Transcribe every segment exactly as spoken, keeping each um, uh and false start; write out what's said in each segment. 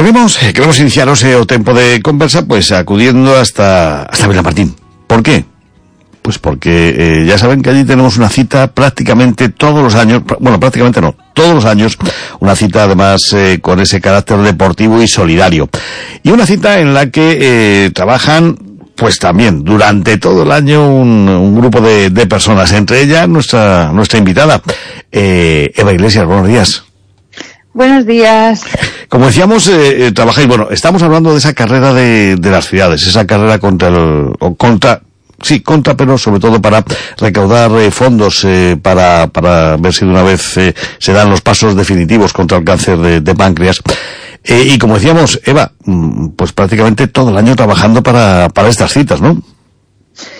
Queremos, queremos iniciaros o tempo de conversa pues acudiendo hasta hasta Vilamartín. ¿Por qué? Pues porque eh, ya saben que allí tenemos una cita prácticamente todos los años, bueno, prácticamente no, todos los años, una cita además eh, con ese carácter deportivo y solidario. Y una cita en la que eh, trabajan pues también durante todo el año un, un grupo de, de personas, entre ellas nuestra nuestra invitada, eh, Eva Iglesias. Buenos días. Buenos días. Como decíamos, eh, eh, trabajáis, bueno, estamos hablando de esa carrera de, de las ciudades, esa carrera contra el, o contra, sí, contra, pero sobre todo para recaudar eh, fondos eh, para, para ver si de una vez eh, se dan los pasos definitivos contra el cáncer de, de páncreas. Eh, y como decíamos, Eva, pues prácticamente todo el año trabajando para, para estas citas, ¿no?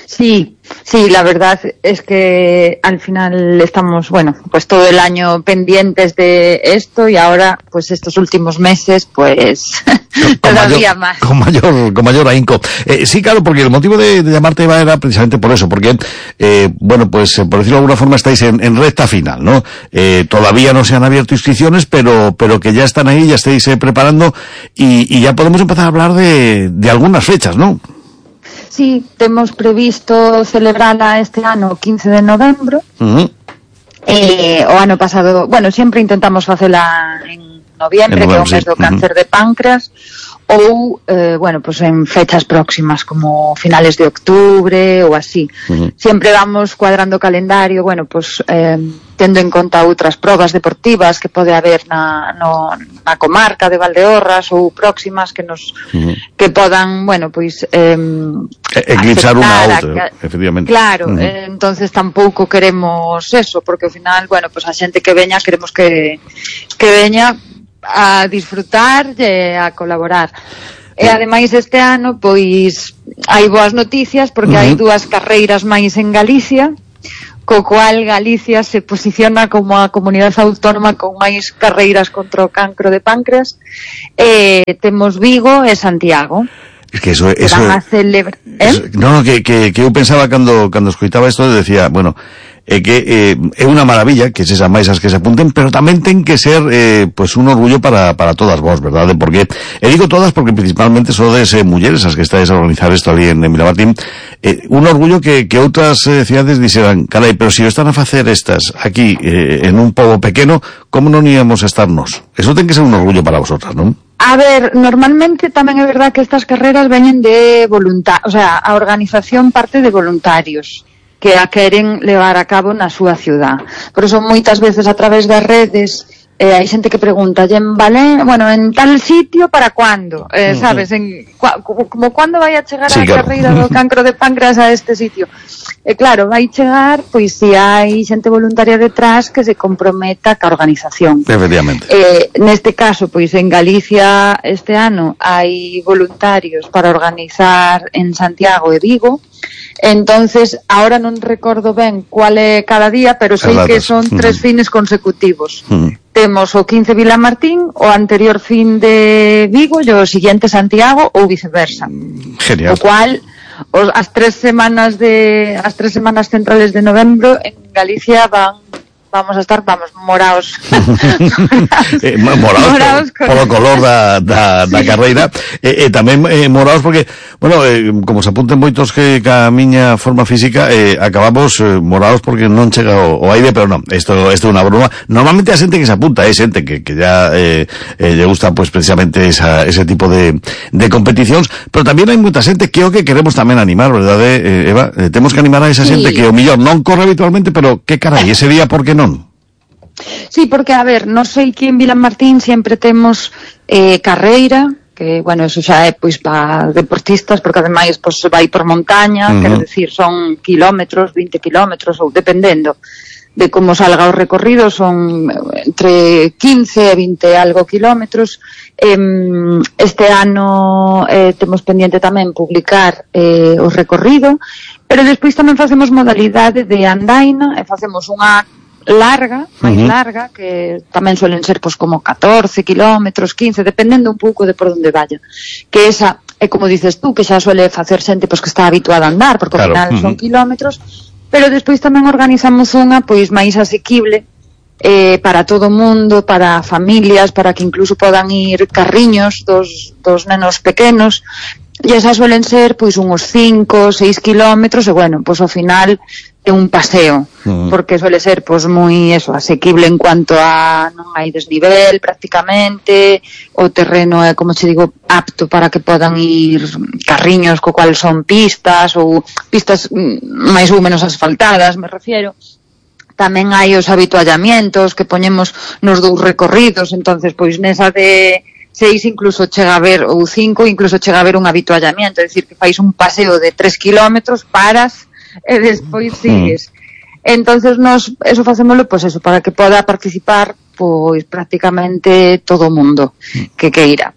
Sí, sí, la verdad es que al final estamos, bueno, pues todo el año pendientes de esto y ahora, pues estos últimos meses, pues con todavía mayor, más. Con mayor, con mayor ahínco. Eh, sí, claro, porque el motivo de, de llamarte Eva era precisamente por eso, porque, eh, bueno, pues por decirlo de alguna forma estáis en, en recta final, ¿no? Eh, todavía no se han abierto inscripciones, pero, pero que ya están ahí, ya estáis eh, preparando y, y ya podemos empezar a hablar de, de algunas fechas, ¿no? Sí, temos previsto celebrala este ano quince de novembro. Uh-huh. Eh, o ano pasado, bueno, sempre intentamos facela en noviembre, en novembro, que é o mes do cáncer uh-huh. de páncreas, ou, eh, bueno, pues en fechas próximas, como finales de octubre ou así. Uh-huh. Sempre vamos cuadrando o calendario, bueno, pues eh, tendo en conta outras probas deportivas que pode haber na, no, na comarca de Valdeorras ou próximas que nos uh-huh. que podan, bueno, pois eh, eclipsar unha a outra, que, efectivamente. Claro, uh-huh. eh, entonces tampouco queremos eso, porque ao final, bueno, pues a xente que veña queremos que que veña a disfrutar e a colaborar. E ademais este ano, pois hai boas noticias porque uh-huh. hai dúas carreiras máis en Galicia, co cual Galicia se posiciona como a comunidade autónoma con máis carreiras contra o cancro de páncreas. Eh, temos Vigo e Santiago. Es que eso, eso, van a celebrar, ¿eh? eso no, no, que, que, que eu pensaba cando, cando escoitaba isto, decía, bueno, eh, que eh, é unha maravilla que se máis as que se apunten, pero tamén ten que ser eh, pues un orgullo para, para todas vos, verdade? Porque, e digo todas porque principalmente sodes eh, mulleres as que estáis a organizar isto ali en, en Vilamartín, eh, un orgullo que, que outras eh, cidades dixeran, carai, pero se si están a facer estas aquí eh, en un pobo pequeno, como non íamos a estarnos? Eso ten que ser un orgullo para vosotras, non? A ver, normalmente tamén é verdad que estas carreras veñen de voluntarios, o sea, a organización parte de voluntarios que a queren levar a cabo na súa ciudad. Por eso moitas veces a través das redes eh, hai xente que pregunta, en Valen, bueno, en tal sitio para cuándo? Eh, sabes, en cua, como cuándo vai a chegar sí, a claro. carreira do cancro de páncreas a este sitio? E eh, claro, vai chegar, pois se hai xente voluntaria detrás que se comprometa ca organización. Efectivamente. Eh, neste caso, pois en Galicia este ano hai voluntarios para organizar en Santiago e Vigo. Entonces, ahora non recordo ben cuál é cada día, pero sei que son tres uh-huh. fines consecutivos. Uh-huh. Temos o quince Vilamartín, o anterior fin de Vigo e o siguiente Santiago ou viceversa. Genial. O cual, os, as tres semanas de as tres semanas centrales de novembro en Galicia van vamos a estar, vamos, moraos. eh, moraos, moraos por, polo color da, da, sí. da carreira. E eh, eh, tamén eh, moraos porque, bueno, eh, como se apunten moitos que ca miña forma física, eh, acabamos eh, moraos porque non chega o, o aire, pero non, isto é unha broma. Normalmente a xente que se apunta é xente que, que ya eh, eh, lle gusta, pues, precisamente esa, ese tipo de, de competicións, pero tamén hai moita xente que o que queremos tamén animar, verdade, eh, Eva? Eh, temos que animar a esa xente sí. que o millón non corre habitualmente, pero que carai, ese día, por que non? Sí, porque, a ver, non sei que en Vilamartín sempre temos eh, carreira, que, bueno, eso xa é, pois, para deportistas, porque ademais, pois, vai por montaña, uh-huh. quero dicir, son kilómetros, vinte kilómetros, ou dependendo de como salga o recorrido, son entre quince e vinte algo kilómetros. Eh, este ano eh, temos pendiente tamén publicar eh, o recorrido, pero despois tamén facemos modalidade de andaina, e facemos unha larga, máis uh-huh. larga, que tamén suelen ser pois como catorce kilómetros, quince, dependendo un pouco de por onde vaya. Que esa é como dices tú, que xa suele facer xente pois que está habituada a andar, porque claro. ao final uh-huh. son kilómetros, pero despois tamén organizamos unha pois máis asequible, eh, para todo o mundo, para familias, para que incluso podan ir carriños dos, dos nenos pequenos, e esas suelen ser pois uns cinco, seis kilómetros, e bueno, pois ao final é un paseo, uh-huh. porque suele ser pois moi eso, asequible en cuanto a non hai desnivel prácticamente, o terreno é, como che digo, apto para que podan ir carriños co cual son pistas ou pistas máis ou menos asfaltadas, me refiero. Tamén hai os habituallamientos que poñemos nos dous recorridos, entonces pois nesa de seis incluso chega a ver, ou cinco incluso chega a ver un habituallamiento, é dicir, que fais un paseo de tres kilómetros, paras e despois sigues. Entonces nos, eso facémoslo, pois eso, para que poda participar pois prácticamente todo o mundo que queira.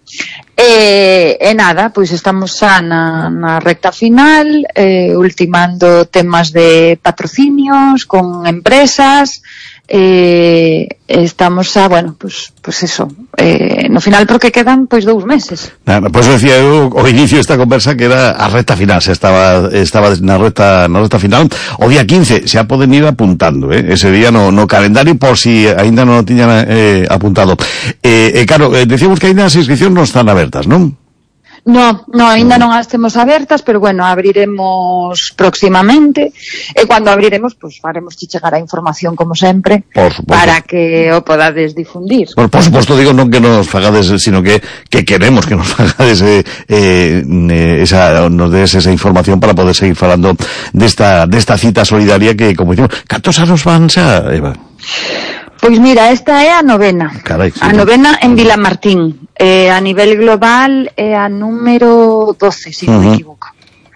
E, e nada, pois estamos xa na, na recta final, eh, ultimando temas de patrocinios con empresas, eh, estamos xa, bueno, pois, pois eso, eh, no final porque quedan pois dous meses. Nada, pois decía eu ao inicio desta conversa que era a recta final, se estaba estaba na recta na recta final. O día quince xa poden ir apuntando, eh, ese día no, no calendario por si aínda non o tiñan eh, apuntado. Eh, eh, claro, eh, decíamos que aínda as inscripcións non están abertas, non? No, no, ainda non as temos abertas, pero bueno, abriremos próximamente, e cando abriremos, pois pues, faremos que chegar a información como sempre, para que o podades difundir. Por, por suposto, digo, non que nos fagades, sino que, que queremos que nos fagades eh, eh, esa, nos des esa información para poder seguir falando desta, desta cita solidaria que, como dicimos, cantos anos van xa, Eva? Pois mira, esta é a novena. Carai, sí, a novena en Vilamartín. Eh, a nivel global é a número doce, se si non uh-huh. me equivoco.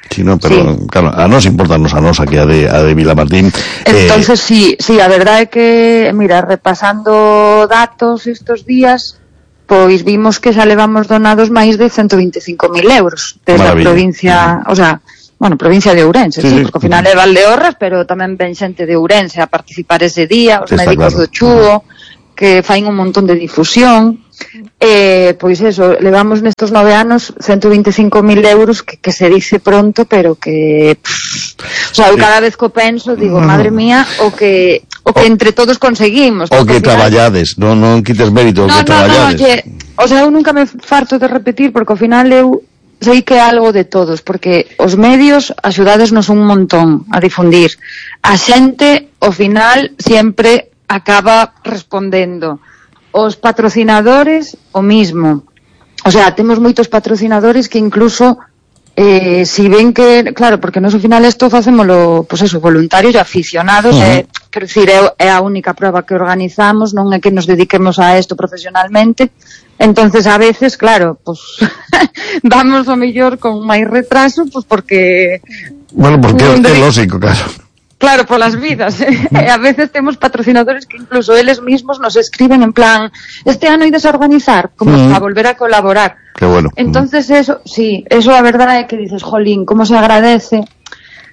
Sí, no, pero sí. Claro, a nos importarnos a nos aquí a de, a de Vilamartín. Entonces, eh... sí, sí, a verdade é que, mira, repasando datos estos días, pois vimos que xa levamos donados máis de ciento veinticinco mil euros desde a provincia, uh-huh. o sea, bueno, provincia de Ourense, sí, sí, porque ao final é Valdeorras, pero tamén ven xente de Ourense a participar ese día, os sí, médicos claro. do Chuo, que fain un montón de difusión, eh, pois eso, levamos nestos nove anos ciento veinticinco mil euros, que, que se dice pronto, pero que, pff, o sea, eu cada vez que o penso, digo, madre mía, o que, o que entre todos conseguimos. O que final... traballades, non, non quites mérito, o no, que no, traballades. No, que, o sea, eu nunca me farto de repetir, porque ao final eu sei que é algo de todos, porque os medios axudadesnos un montón a difundir. A xente, ao final, sempre acaba respondendo. Os patrocinadores, o mismo. O sea, temos moitos patrocinadores que incluso, eh, si ven que, claro, porque nos ao final isto facémolo, pois eso, voluntarios e aficionados, uh-huh. eh, quero dicir, é, é a única prova que organizamos, non é que nos dediquemos a isto profesionalmente. Entonces, a veces, claro, pues vamos o mellor con máis retraso, pues porque... Bueno, porque é de... lógico, claro. Claro, polas vidas. Eh? A veces temos patrocinadores que incluso eles mismos nos escriben en plan, este ano ides a organizar, como mm. a volver a colaborar. Qué bueno. Entonces, eso, sí, eso a verdade é que dices, jolín, como se agradece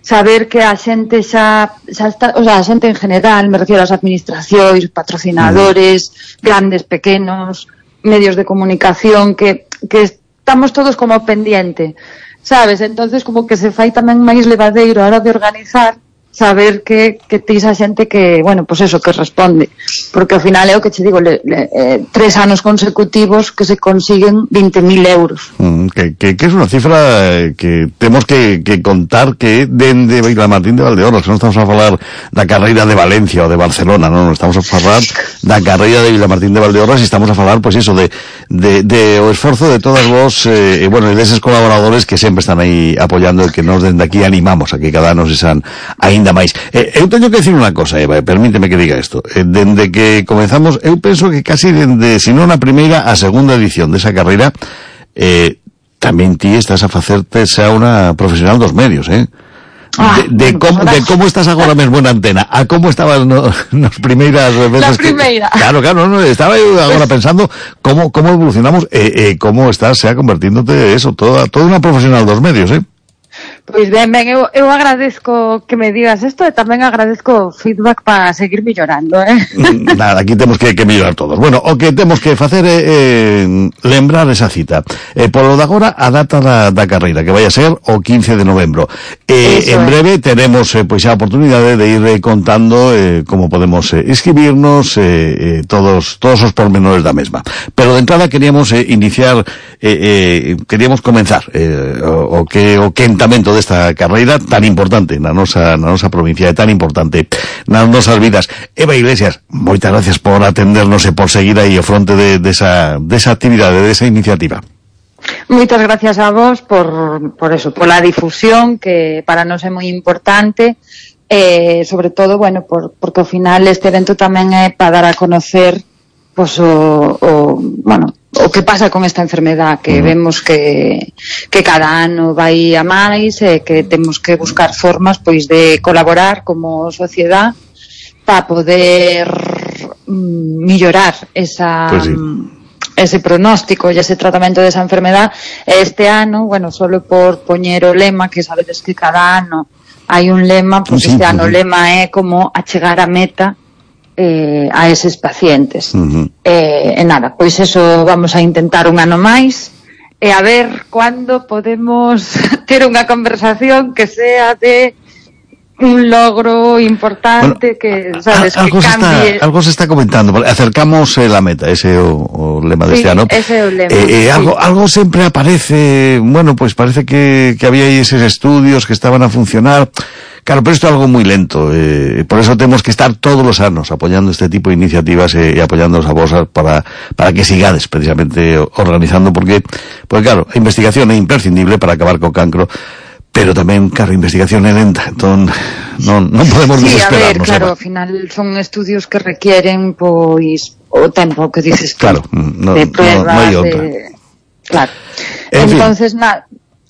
saber que a xente xa, xa está, o sea, a xente en general, me refiero ás administracións, patrocinadores, mm. grandes, pequenos, medios de comunicación, que, que estamos todos como pendiente, sabes? Entonces como que se fai tamén máis levadeiro a hora de organizar, saber que, que tens a xente que, bueno, pues eso, que responde, porque ao final é o que che digo, le, le, eh, tres anos consecutivos que se consiguen veinte mil euros. Mm, que, que, que es unha cifra que temos que, que contar que dende Vilamartín de Valdeorras, que non estamos a falar da carreira de Valencia ou de Barcelona, non, non estamos a falar da carreira de Vilamartín de Valdeorras e estamos a falar, pois pues, iso, de, de, de o esforzo de todas vos, eh, e, bueno, deses colaboradores que sempre están aí apoiando e que nos dende aquí animamos a que cada ano se san aínda máis. Eh, eu teño que decir unha cosa, Eva, permíteme que diga isto. Eh, dende que comenzamos, eu penso que casi dende, se non a primeira, a segunda edición desa carreira, eh, tamén ti estás a facerte xa unha profesional dos medios, eh? Ah, de, de, como, de como estás agora mesmo na antena, a como estabas no, nas primeiras veces la primeira. Que, claro, claro, no, estaba eu agora pensando como, como evolucionamos e eh, eh, como estás xa convertíndote eso, toda, toda unha profesional dos medios, eh? Pois ben, ben, eu, eu agradezco que me digas isto e tamén agradezco o feedback para seguir mellorando, eh? Nada, aquí temos que, que mellorar todos. Bueno, o que temos que facer é eh, lembrar esa cita. Eh, polo de agora, a data da, da carreira, que vai a ser o quince de novembro. Eh, en breve teremos eh, pois a oportunidade de ir eh, contando eh, como podemos eh, inscribirnos, eh, eh, todos todos os pormenores da mesma. Pero de entrada queríamos eh, iniciar, eh, eh, queríamos comenzar eh, o, o que o quentamento desta carreira tan importante na nosa na nosa provincia, e tan importante nas nosas vidas. Eva Iglesias, moitas gracias por atendernos e por seguir aí ao fronte de, de esa, de esa actividade, de esa iniciativa. Moitas gracias a vos por, por eso, pola difusión, que para nós é moi importante, e sobre todo, bueno, por, porque ao final este evento tamén é para dar a conocer pues, o, o, bueno, o que pasa con esta enfermedad, que uh-huh. vemos que, que cada ano vai a máis, e que temos que buscar formas pois de colaborar como sociedade para poder mm, mellorar esa, pues sí. ese pronóstico e ese tratamento desa enfermedad. Este ano, bueno, solo por poñer o lema, que sabedes que cada ano hai un lema, pois pues sí, este uh-huh. ano o lema é como achegar a meta Eh, a eses pacientes. Uh-huh. Eh, e nada, pois eso vamos a intentar un ano máis, e a ver cando podemos ter unha conversación que sea de un logro importante, bueno, que, sabes, algo que cambie. Se está, algo se está comentando, acercamos eh, la meta, ese é o, o lema de sí, este ano. Ese é o lema. Eh, eh, sí. algo, algo sempre aparece, bueno, pues parece que, que había aí eses estudios que estaban a funcionar. Claro, pero isto é algo moi lento, eh, por eso temos que estar todos os anos apoyando este tipo de iniciativas e, e apoyándonos a vos para, para que sigades precisamente organizando, porque, porque claro, a investigación é imprescindible para acabar co cancro, pero tamén, claro, a investigación é lenta, entón non, non podemos sí, desesperarnos. Sí, a ver, claro, ao final son estudios que requieren, pois, o tempo que dices tú, claro, no, de pruebas, no, no hai outra. De... Claro. En Entonces, nada...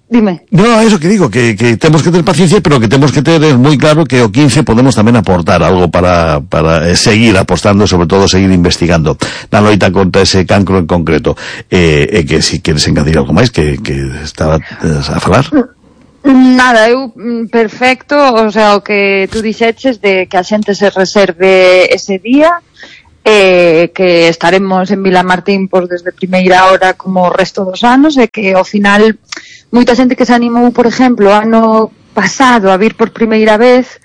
Dime. No, eso que digo, que, que temos que ter paciencia, pero que temos que ter moi claro que o quince podemos tamén aportar algo para, para seguir apostando, sobre todo seguir investigando na loita contra ese cancro en concreto. E eh, eh, que si queres engadir algo máis que, que estaba a falar. Nada, eu perfecto, o sea, o que tú dixeches de que a xente se reserve ese día, eh, que estaremos en Vilamartín pois desde primeira hora como o resto dos anos, e que ao final moita xente que se animou, por exemplo, ano pasado a vir por primeira vez,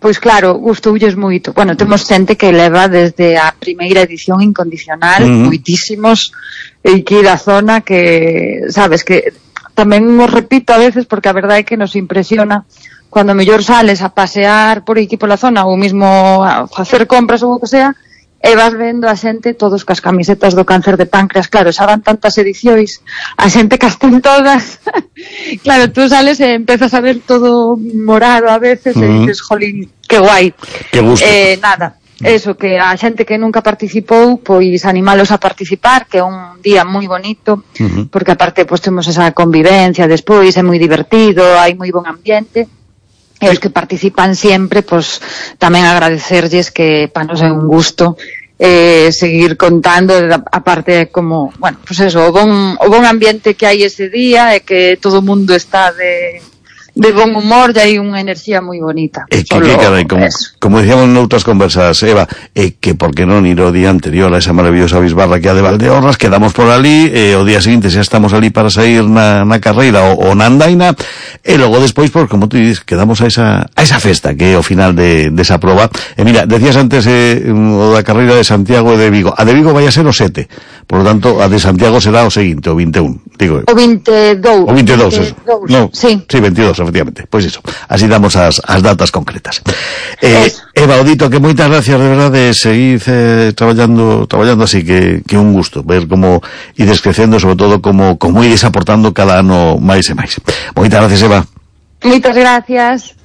pois claro, gustoulles moito. Bueno, temos xente que leva desde a primeira edición incondicional, uh-huh. moitísimos, e que da zona que, sabes, que tamén os repito a veces porque a verdade é que nos impresiona cando mellor sales a pasear por aquí pola zona ou mismo a facer compras ou o que sea, e vas vendo a xente todos cas camisetas do cáncer de páncreas. Claro, xa van tantas edicións, a xente cas ten todas. Claro, tú sales e empezas a ver todo morado a veces, uh-huh. e dices, jolín, que guai. Que gusto. Eh, nada, eso, que a xente que nunca participou, pois animalos a participar, que é un día moi bonito, uh-huh. porque aparte pois temos esa convivencia despois, é moi divertido, hai moi bon ambiente. E os que participan sempre, pois tamén agradecerlles, que para nos é un gusto eh, seguir contando, aparte como, bueno, pois eso, o bon, o bon ambiente que hai ese día, e que todo o mundo está de, de bon humor, e hai unha enerxía moi bonita. E que, que carai, como, como decíamos noutras conversas, Eva, e que por que non ir o día anterior a esa maravillosa bisbarra que a de Valdeorras, quedamos por ali, e o día seguinte xa estamos ali para sair na, na carreira o, o na andaina, e logo despois, por como tú dices, quedamos a esa, a esa festa que é o final de, de esa proba. E mira, decías antes eh, o da carreira de Santiago e de Vigo. A de Vigo vai a ser o sete, por lo tanto, a de Santiago será o seguinte, o vinte e un, digo. O vinte e dous. O vinte e dous, eso. No, sí. Sí, veintidós, efectivamente. Pois iso, así damos as, as datas concretas. Eh, Eva, Odito, que moitas gracias, de verdade, seguid eh, traballando traballando así, que, que un gusto ver como ides crecendo, sobre todo como, como ides aportando cada ano máis e máis. Moitas gracias, Eva. Moitas gracias.